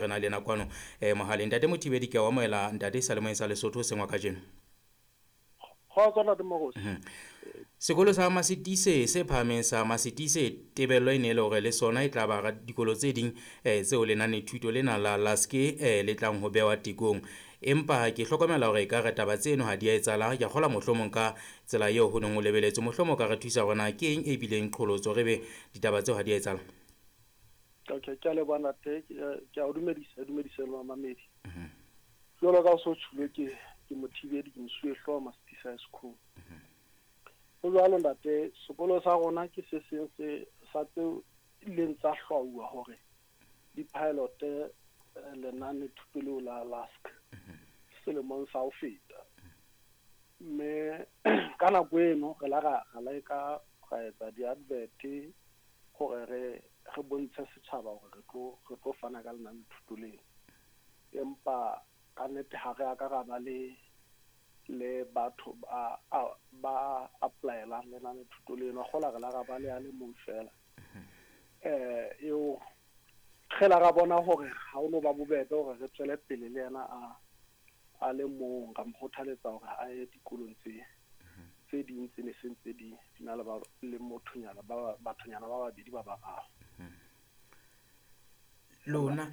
Re na le yena kwano mohaleng. Ntate Mothibedi, ke a o amohela ntate seyalemoyeng sa Lesotho sengwa kajeno. Kgotso ntate Mokosi. Sekolo sa Masitise se phahameng sa Masitise, tebello e ne e le hore le sona e tla ba hara dikolo tse ding tseo lenanethuto lena la LASK le tlang ho behwa tekong. Empa ke hlokomela hore ekare taba tseno ha di a etsahala. Ke a kgolwa mohlomong ka tsela eo ho neng ho lebeletswe. Mohlomong o ka re thusa hore na ke eng e bileng qholotso re be ditaba tseo ha di a etsahala. Okay, ke a leboha ntate, ke a o dumedisa, dumedisa le mamamedi. Jwalo ka o so tjhulo ke Mothibedi, ke mosuwehlooho Masitise High School. Ho jwalo ntate, sekolo sa rona ke se seng se sa tseo ileng tsa hlwauwa hore di-pilot lenane thuto leo la LASK selemong sa ho feta. Mme ka nako eno re la ra leka ra etsa di-advert hore re bontshe setjhaba hore re tlo fana ka lenane thuto leo. Empa ka nnete ha re a ka ra ba le batho ba apply-elang lenane thuto leno. Kgola re la ra ba le a le mong fela. Eo re la ra bona hore ha o no ba bobebe hore re tswele pele le yena a le mong, ra mo kgothaletsa hore a ye dikolong tse ding tse ne se ntse di na le ba le mothonyana ba bathonyana ba babedi ba bararo. Lona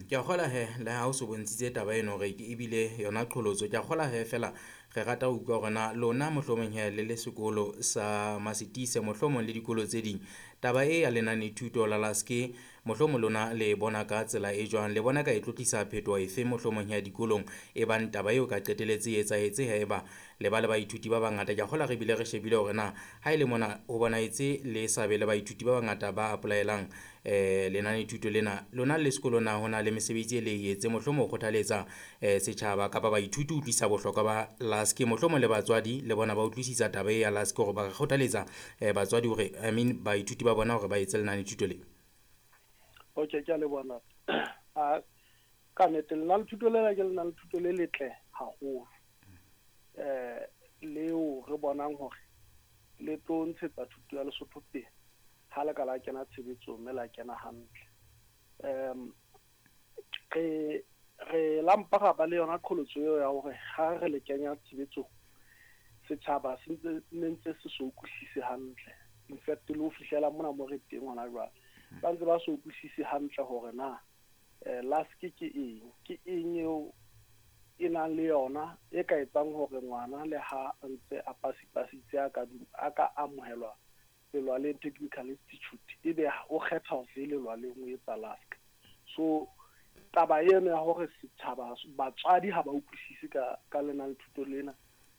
ke a kgola he le ha o so bontshitse taba eno hore ebile yona qholotso. Ke a kgola he fela re rata ho utlwa hore na lona mohlomong he le le sekolo sa Masitise mohlomong le dikolo tse ding, taba e ya lenanethuto la LASK mohlomong lona le bona ka tsela e jwang, le bona ka e tlotlisa phetoho efe mohlomong ya dikolong e bang taba eo ka qetelletse e etsahetse haeba le ba le baithuti ba bangata. Ke a kgola re bile re shebile hore na ha e le mona ho bonahetse le sa be le baithuti ba bangata ba apply-elang lenanethuto lena. Lona le sekolo na ho na le mesebetsi e le e etse mohlomong ho kgothaletsa setjhaba kapa baithuti ho utlwisisa bohlokwa ba LASK, mohlomong le batswadi le bona ba utlwisisa taba e ya LASK hore ba kgothaletsa batswadi hore I mean baithuti ba bona hore ba etse lenanethuto le. Okay, ke a leboha ntate. Ka nnete lenanethuto lena ke lenanethuto le letle haholo. Leo re bonang hore le tlo ntshetsa thuto ya Lesotho pele ha le ka la kena tshebetsong mme la kena hantle. Re la mpa ra ba le yona qholotso eo ya hore ha re le kenya tshebetsong setjhaba se ntse ne ntse se so utlwisise hantle. In fact le ho fihlela mona mo re teng hona jwale, ba ntse ba so utlwisise hantle hore na LASK ke eng, ke eng eo e nang le yona e ka etsang hore ngwana le ha a ntse a pasipasitse a ka amohelwa Lelwaleng Technical Institute ebe o kgetha ho fe Lelwaleng o etsa LASK. So taba eno ya hore setjhaba batswadi ha ba utlwisise ka lenanethuto lena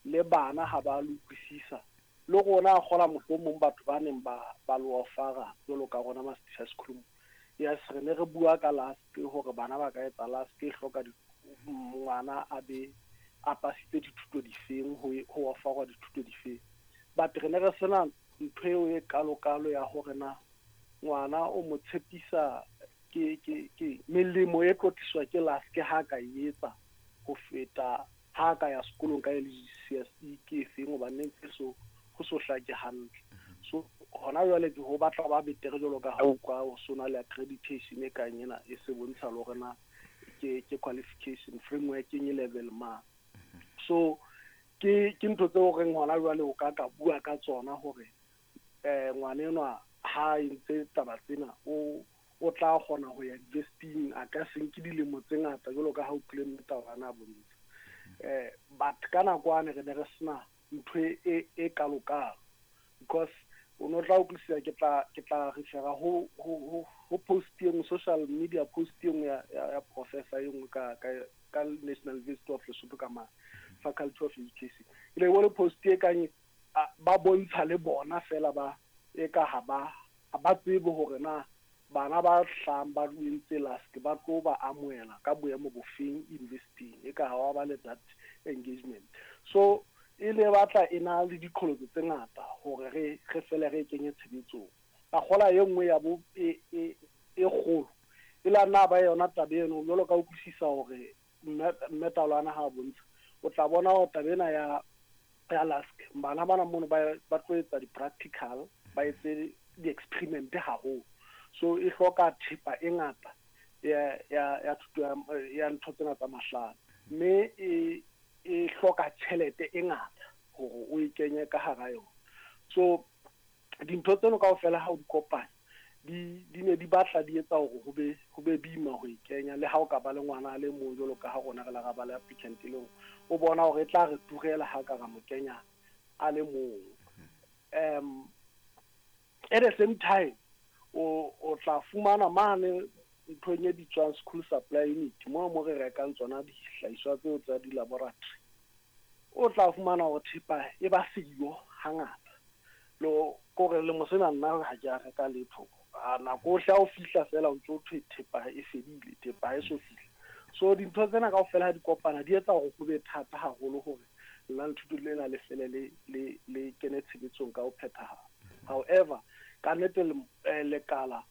le bana ha ba le utlwisisa, le rona a kgola mohlomong batho ba neng ba lo ofara jwalo ka rona Masitise High School. Yes, re ne re bua ka LASK hore bana ba ka etsa LASK e hloka ngwana a be a pasitse dithuto difeng ho ofarwa dithuto difeng. But re ne re sena ntho eo e kalo-kalo ya hore na ngwana o mo tshepisa ke melemo e tlo tliswa ke LASK ha ka e etsa ho feta ha ka ya sekolong ka LGCSE ke efeng, hobane ne ntse so ho so hlake hantle. So hona jwale ke ho batla ba betere jwalo ka ha utlwa ho sona le accreditation e kang ena e se bontsha le hore na ke qualification framework e level mang. So ke ntho tseo reng hona jwale o ka bua ka tsona hore ngwana enwa ha entse taba tsena o tla kgona ho ya university-ing, a ka se nke dilemo tse ngata jwalo ka ha o tlile mme taba ana bontsha. But ka nako ane re ne re sena ntho e kalo-kalo because o no tla utlwisisa ke tla refera ho post e nngwe, social media post e nngwe ya professor e nngwe ka National University of Lesotho ka ma Faculty of Education. E le bone post e kang ba bontsha le bona fela ba e ka ha ba tsebe hore na bana ba hlahang ba entse LASK ba tlo ba amohela ka boemo bofeng university e ka ha wa ba le that engagement. So e le batla e na le diqholotso tse ngata hore re fele re kenye tshebetsong. Ka kgola e nngwe ya bo e kgolo e la nna ba yona taba eno jwalo ka utlwisisa hore mme Taolwana ha bontsha o tla bona hore taba ena ya LASK bana bana mono ba tlo etsa di-practical, ba etse di-experiment haholo. So e hloka thepa e ngata ya thuto ya ntho tsena tsa mahlale, mme e hloka tjhelete e ngata hore o e kenye ka hara yona. So dintho tseno kaofela ha o di kopanya di ne di batla di etsa hore ho be boima ho e kenya. Le ha o ka ba le ngwana a le mong, jwalo ka ha rona re la ra ba le applicant e le nngwe, o bona hore e tla re turela ha ka ra mo kenya a le mong. At the same time, o tla fumana mane nthong e bitswang school supply unit, mo re rekang tsona dihlahiswa tseo tsa di-laboratory, o tla fumana hore thepa e ba siyo hangata. Lo kore lemo sena nna ha ke a reka letho. A nako ohle ha o fihla fela, o ntso thwe thepa e fedile, thepa ha e so fihle. So dintho tsena kaofela ha di kopana, di etsa hore ho be thata haholo hore lenanethuto lena le fele le kene tshebetsong ka ho phethahala. However, ka nnete lekala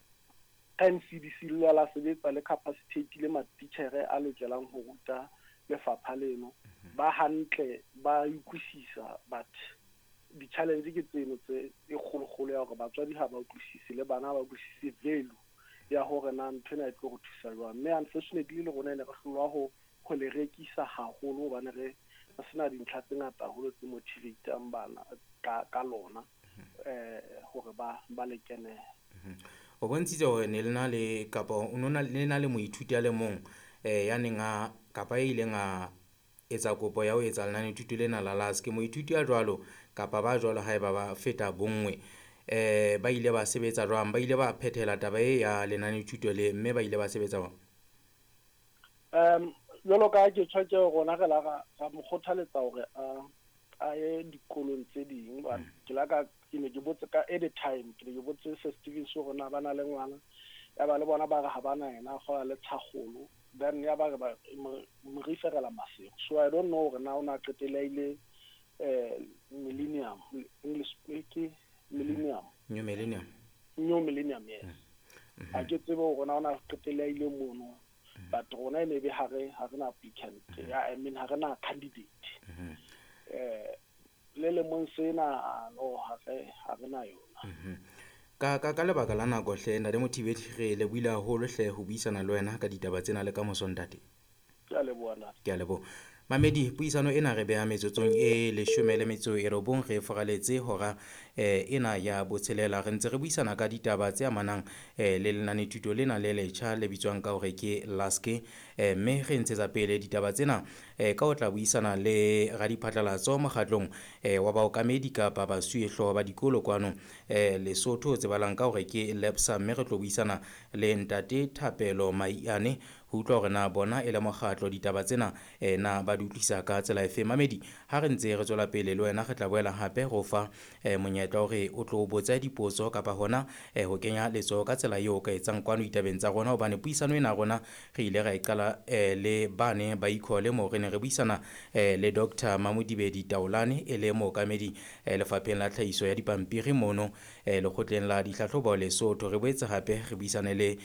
ka NCDC le la sebetsa le capacitate matitjhere a lokelang ho ruta lefapha leno ba hantle, ba utlwisisa. But di-challenge ke tseno tse e kgolokgolo ya hore batswadi ha ba utlwisise le bana ha ba utlwisise value ya hore na ntho ena e tlo re thusa jwang. Mme unfortunately le rona ne re hlolwa ho le rekisa haholo, hobane re sena dintlha tse ngata haholo tse motivatang bana ka lona hore ba le kenele. O bontshitse hore ne le na le kapa o no na le na le moithuti a le mong ya neng a kapa e ileng a etsa kopo ya ho etsa lenanethuto lena la LASK. Moithuti a jwalo kapa ba jwalo, haeba ba feta bonngwe, ba ile ba sebetsa jwang? Ba ile ba phethela taba e ya lenanethuto le, mme ba ile ba sebetsa jwang? Jwalo ka ha ke tjho, ke rona re la ra mo kgothaletsa hore a ye dikolong tse ding. Ke la ka ke ne ke botse ka at the time, ke ne ke botse Sir Stevens hore na ba na le ngwana ya ba le bona, ba re ha bana yena a kgola le tshakgolo. Then ya ba re ba mo referela Maseru. So I don't know hore na o na qetelle a ile Millennium English ke Millennium. New Millennium. New Millennium, yes. Ha ke tsebe hore na o na qetelle a ile mono, but rona e ne be ha re na applicant ya, I mean, ha re na candidate. Le lemong sena no, ha re na yona. Ka lebaka la nako hle, ntate Mothibedi, re lebohile haholo hle ho buisana le wena ka ditaba tsena. Le ka moso, ntate. Ke a leboha, ntate. Ke a leboha. Mamedi, puisano ena re beha metsotsong e 19 re foraletse hora ena ya botshelela. Re ntse re buisana ka ditaba tse amanang le lenanethuto lena le letjha le bitswang ka hore ke LASK, mme re ntshetsa pele ditaba tsena ka ho tla buisana le radiphatlalatso mokgatlong wa baokamedi kapa basuwehlooho ba dikolo kwano Lesotho, tsebalang ka hore ke LEPSA, mme re tlo buisana le ntate Thapelo Maiane ho utlwa hore na bona e le mokgatlo ditaba tsena na ba di utlwisa ka tsela efe. Mamedi, ha re ntse re tswela pele le wena, re tla boela hape go fa monyetla hore o tlo botsa dipotso kapa hona ho kenya letsoho ka tsela eo o ka etsang kwano ditabeng tsa rona, hobane puisano ena rona re ile ra e qala le bane ba ikhole moo re ne re buisana le Dr Mamodibedi Taolane, e le mookamedi lefapheng la tlhahiso ya dipampiri mono lekgotleng la ditlhatlhobo Lesotho. Re boetse hape re buisane le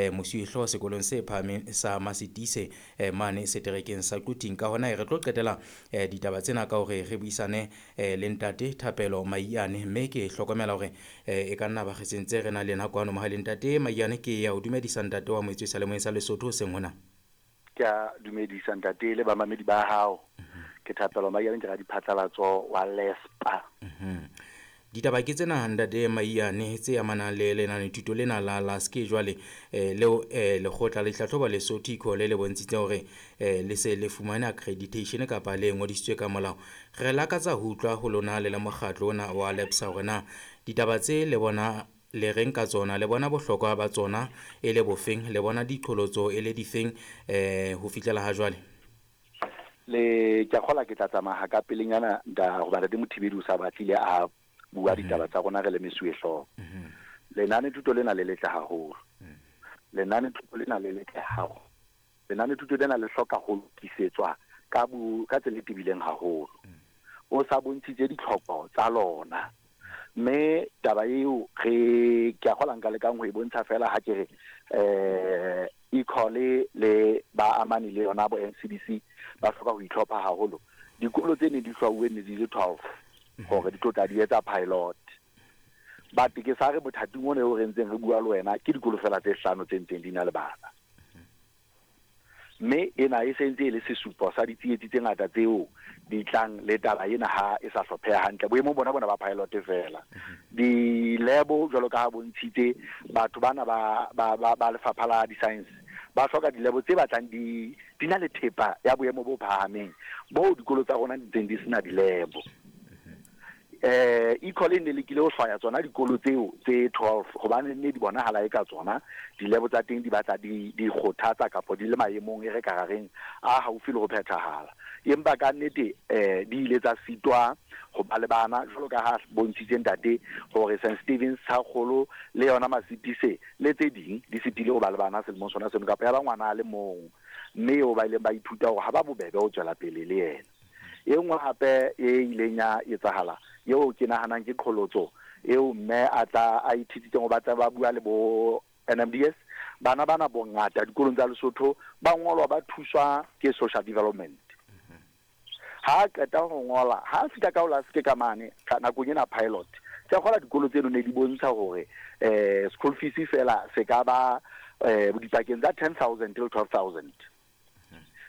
mosuwehlooho sekolong se phahameng sa Masitise mane seterekeng sa Quthing. Ka hona re tlo qetela ditaba tsena ka hore re buisane le ntate Thapelo Maiane, mme ke hlokomela hore e ka nna ba re sentse re na le yena kwano mohaleng. Ntate Maiane, ke ya o dumedisa, ntate wa moetswe sa lemoeng sa Lesotho seng hona. Ke a dumedisa, ntate, le bamamedi ba hao. Ke Thapelo Maiane, ke radiphatlalatso wa LESPA. Ditaba ke tsena, ntate Maiane, tse amanang le lenanethuto lena la LASK. Jwale leo lekgotla le tlhatlhoba Lesotho ICO le bontshitse hore le se le fumane accreditation kapa le ngodisitswe ka molao. Re lakatsa ho utlwa ho lona le le mokgatlo ona wa LEPSA hore na ditaba tse le bona le reng ka tsona, le bona bohlokwa ba tsona e le bofeng, le bona diqholotso e le difeng ho fihlela ha jwale. Le ke a kgola ke tla tsamaya ka pelenyana nda hoba ntate Mothibedi o sa batlile a bua ditaba tsa rona re le mesuwehlooho. Lenane thuto lena le letle haholo. Lenane thuto lena le letle haholo. Lenane thuto lena le hloka ho lokisetswa ka tsela e tebileng haholo. O sa bontshitse ditlhoko tsa lona. Mme taba eo re ke a kgola nka lekang ho e bontsha fela ha ke re e le ba amane le yona bo NCDC ba hloka ho itlhopha haholo. Dikolo tse ne di hlwauwe ne di le 12 hore di tlo tla di etsa pilot. But ke sa re bothating ona eo re ntseng re bua le wena, ke dikolo fela tse hlano tse ntseng di na le bana. Mme ena e se ntse e le sesupo sa ditsietsi tse ngata tseo di tlang le taba ena ha e sa hlopheha hantle boemong bona bona ba pilot fela. Di-lab jwalo ka ha bontshitse batho bana ba lefapha la di-science ba hloka di-lab tse batlang di na le thepa ya boemo bo phahameng bo dikolo tsa rona di ntseng di sena di-lab. Ecole ne lekile ho hlwaya tsona dikolo tseo tse 12 hobane ne di bonahala e ka tsona di-lab tsa teng di batla di kgothatsa kapa di le maemong e re ka reng a haufi le ho phethahala. Empa ka nnete di ile tsa sitwa ho ba le bana jwalo ka ha bontshitse ntate hore St Stevens Thakgolo le yona Masitise le tse ding di sitile ho ba le bana selemong sona seno kapa ya ba ngwana a le mong, mme eo ba ileng ba ithuta hore ha ba bobebe ho tswela pele le yena. E nngwe hape e ileng ya etsahala eo ke nahanang ke qholotso eo mme a tla a ithutitseng ho batla ba bua le bo NMDS, bana bana bongata dikolong tsa Lesotho ba ngolwa ba thuswa ke social development. Ha qeta ho ngola ha fihla ka ho se ka mane ka nakong ena pilot ke kgola dikolo tseno ne di bontsha hore school fees fela se ka ba dipakeng tsa 10,000 till 12,000.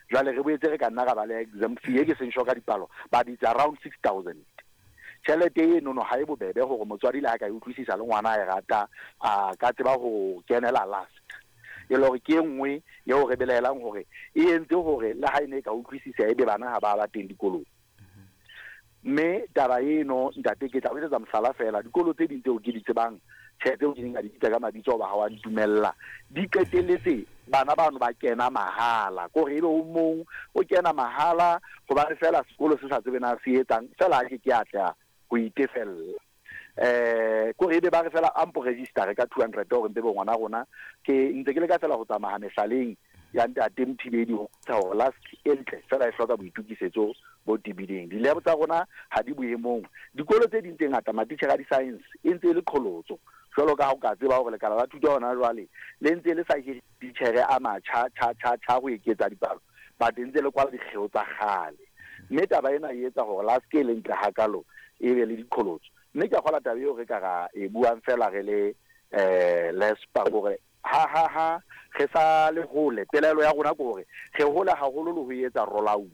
Jwale re boetse re ka nna ra ba le exam fee e ke seng sure ka dipalo but it's around 6,000. Tjhelete eno no ha e bobebe hore motswadi le ha ka e utlwisisa le ngwana a e rata a ka tseba ho kenela last. E le hore ke e nngwe eo re belaelang hore e entse hore le ha e ne e ka utlwisisa ebe bana ha ba ba teng dikolong. Mme taba eno ntate ke tla o etsetsa mohlala fela, dikolo tse ding tseo ke di tsebang tjhe tseo ke di nka di bitsa ka mabitso hoba ha wa ntumella, di qetelletse bana bano ba kena mahala, kore ebe o mong o kena mahala hobane fela sekolo se sa tsebe na se etsang fela ha ke ke atleha ho itefella. Kore ebe ba re fela ampo register ka 200 hore mpe bo ngwana rona ke ntse ke le ka fela ho tsamaya mehlaleng ya ntate Mothibedi ho hore last e ntle fela e hloka boitukisetso bo tebileng. Di-lab tsa rona ha di boemong, dikolo tse ding tse ngata matitjhere a di-science e ntse e le qholotso jwalo ka ha o ka tseba hore lekala la thuto hona jwale le ntse le sa hire ditjhere a matjha tjha tjha tjha ho eketsa dipalo, but ntse le kwala dikgeo tsa kgale. Mme taba ena e etsa hore la se ke le ntle hakalo e be le diqholotso. Mme ke a kgola taba eo re ka ra e buang fela re le lespa hore ha re sa le hole. Pelaelo ya rona ke hore re hola haholo le ho etsa roll out.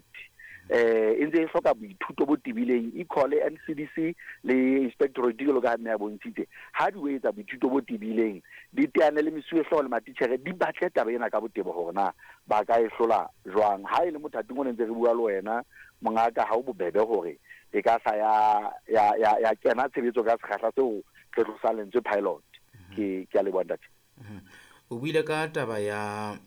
E ntse e hloka boithuto bo tebileng. Ecole, NCDC le inspectorate jwalo ka ha mme a bontshitse ha di o etsa boithuto bo tebileng, di teane le mesuwehlooho le matitjhere, di batle taba ena ka botebo hore na ba ka e hlola jwang. Ha e le mothating o ne ntse re bua le wena mongaka, ha o bobebe hore e ka sa ya kena tshebetso ka sekgahla seo re tlosang lentswe pilot. Ke a leboha ntate. O buile ka taba ya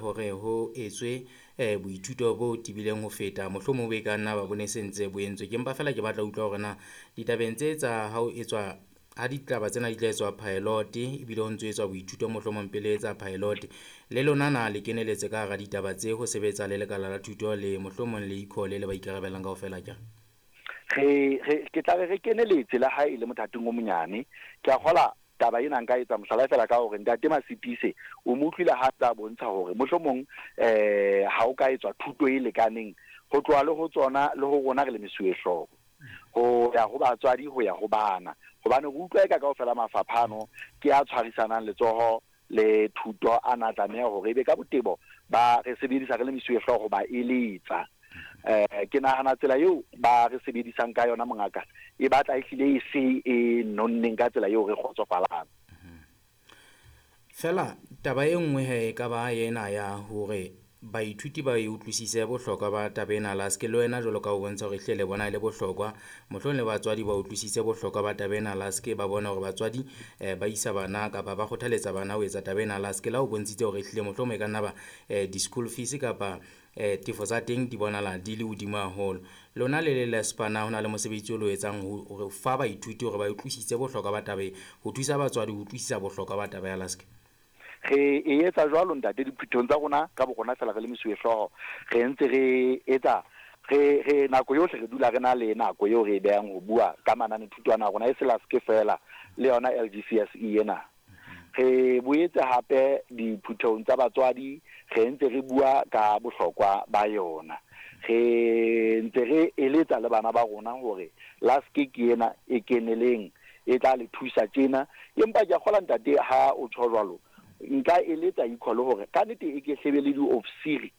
hore ho etswe boithuto bo tebileng ho feta mohlomong bo e ka nna ba bone sentse bo entswe. Ke mpa fela ke batla utlwa hore na ditabeng tse tsa ha o etswa ha ditaba tsena di tla etswa pilot ebile ho ntso etswa boithuto mohlomong pele etsa pilot, le lona na le keneletse ka hara ditaba tse ho sebetsa le lekala la thuto le mohlomong le ecole le ba ikarabellang kaofela ke? Re ke tla re keneletse le ha e le mothating o monyane. Ke a kgola taba ena nka etsa mohlala fela ka hore ntate Masitise o mo utlwile ha tsa bontsha hore mohlomong ha o ka etswa thuto e lekaneng ho tloha le ho tsona le ho rona re le mesuwehlooho ho ya ho batswadi ho ya ho bana, hobane re utlwa eka kaofela mafapha ano ke a tshwarisanang letsoho le thuto a na tlameha hore ebe ka botebo ba re sebedisa re le mesuwehlooho ba eletsa. Ke nahana tsela eo ba re sebedisang ka yona mongaka e batla e hlile e se e nonneng ka tsela eo re kgotsofalang. Fela taba e nngwe he e ka ba ena ya hore baithuti ba e utlwisise bohlokwa ba taba ena la se le wena jwalo ka o bontsha hore ehlile le bona e le bohlokwa, mohlomong le batswadi ba utlwisise bohlokwa ba taba ena la se ba bona hore batswadi ba isa bana kapa ba kgothaletsa bana ho etsa taba ena la se la o bontshitse hore ehlile mohlomong e ka nna ba di-school fees kapa tefo tsa teng di bonala di le hodimo haholo. Lona le le Lespana ho na le mosebetsi o lo etsang hore fa baithuti hore ba utlwisise bohlokwa ba taba e, ho thusa batswadi ho utlwisisa bohlokwa ba taba ya laske? Re e etsa jwalo ntate diphuthong tsa rona ka bo rona fela re le mesuwehlooho, re ntse re etsa re nako yohle re dula re na le nako eo re e behang ho bua ka mananethuto ana a rona e se laske fela le yona LGCSE ena. Re boetse hape diphuthong tsa batswadi re ntse re bua ka bohlokwa ba yona. Re ntse re eletsa le bana ba rona hore laske ke ena e keneleng e tla le thusa tjena. Empa ke a kgola ntate ha o tjho jwalo Nka eletsa equal hore ka nnete e ke hlebe le diofisiri.